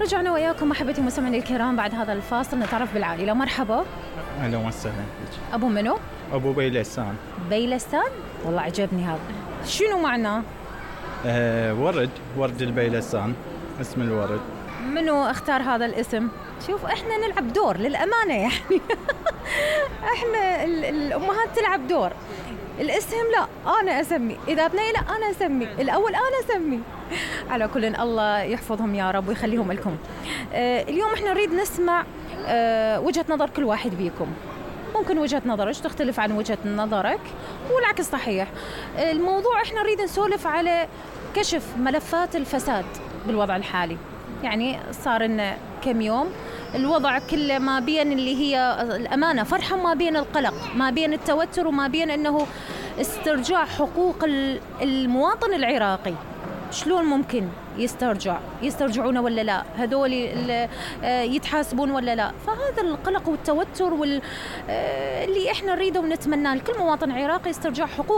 رجعنا وياكم أحبتي المستمعين الكرام بعد هذا الفاصل نتعرف بالعائلة. مرحبا. أهلا وسهلا. أبو منو؟ أبو بيلسان. بيلسان؟ والله عجبني هذا. شنو معناه؟ ورد البيلسان اسم الورد. منو اختار هذا الاسم؟ شوف احنا نلعب دور للأمانة يعني احنا الأمهات تلعب دور. الاسم لا أنا أسمي، إذا بني لا أنا أسمي، الأول أنا أسمي. على كل الله يحفظهم يا رب ويخليهم لكم. اليوم احنا نريد نسمع وجهة نظر كل واحد بيكم. ممكن وجهة نظرك تختلف عن وجهة نظرك والعكس صحيح. الموضوع احنا نريد نسولف على كشف ملفات الفساد بالوضع الحالي. يعني صار لنا كم يوم الوضع كله ما بين اللي هي الأمانة فرحة، ما بين القلق، ما بين التوتر، وما بين أنه استرجاع حقوق المواطن العراقي. شلون ممكن يسترجعون ولا لا؟ هذول يتحاسبون ولا لا؟ فهذا القلق والتوتر اللي احنا نريده ونتمناه لكل مواطن عراقي، استرجاع حقوق